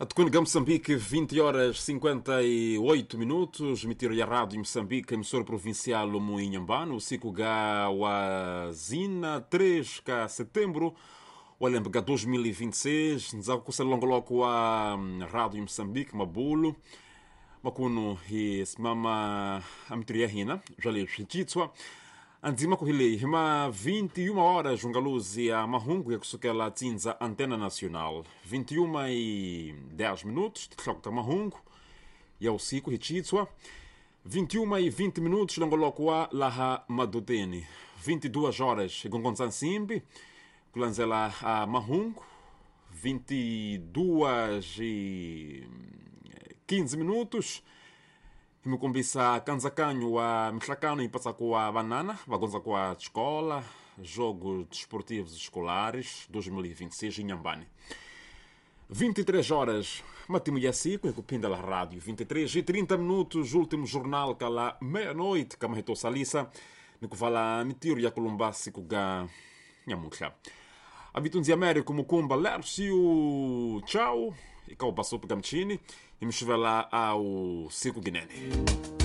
Atucunga, Moçambique, 20 horas 58 minutos. Mitiro ya Rádio Moçambique, emissora provincial Moinhambano, usiku ga wa zina 3 ka setembro walembe 2026. Nzakukusa longoloko wa Rádio Moçambique Mabulo makuno hi simama amitiro ya hina bya swicitswa andzima kuhile hima 21 horas jungaluzi ya mahungu ya kusukela tsinza Antena Nacional. 21 e 10 minutos tihlakuta mahungu ya usiku hichitswa. 21 e 20 minutos longoloko wa laha madoteni. 22 horas igongonza nsimbi kulandzela a mahungu. 22 e 15 minutos himikombisa kanzakanyo wa mihlakano ipatsaku wa vanana vagonza kwa escola Jogos Desportivos Escolares 2026 em Inhambane. 23 horas matimu ya siku ikupinda la rádio. 23 e 30 minutos último jornal kala meia-noite kamaheto salisa nikuvala mitiro ya kulumba siku ga nyamuhla abitunzi Américo Mukumba Lércio tchau ikaubasopa gamchini imxivela ao siku ginene.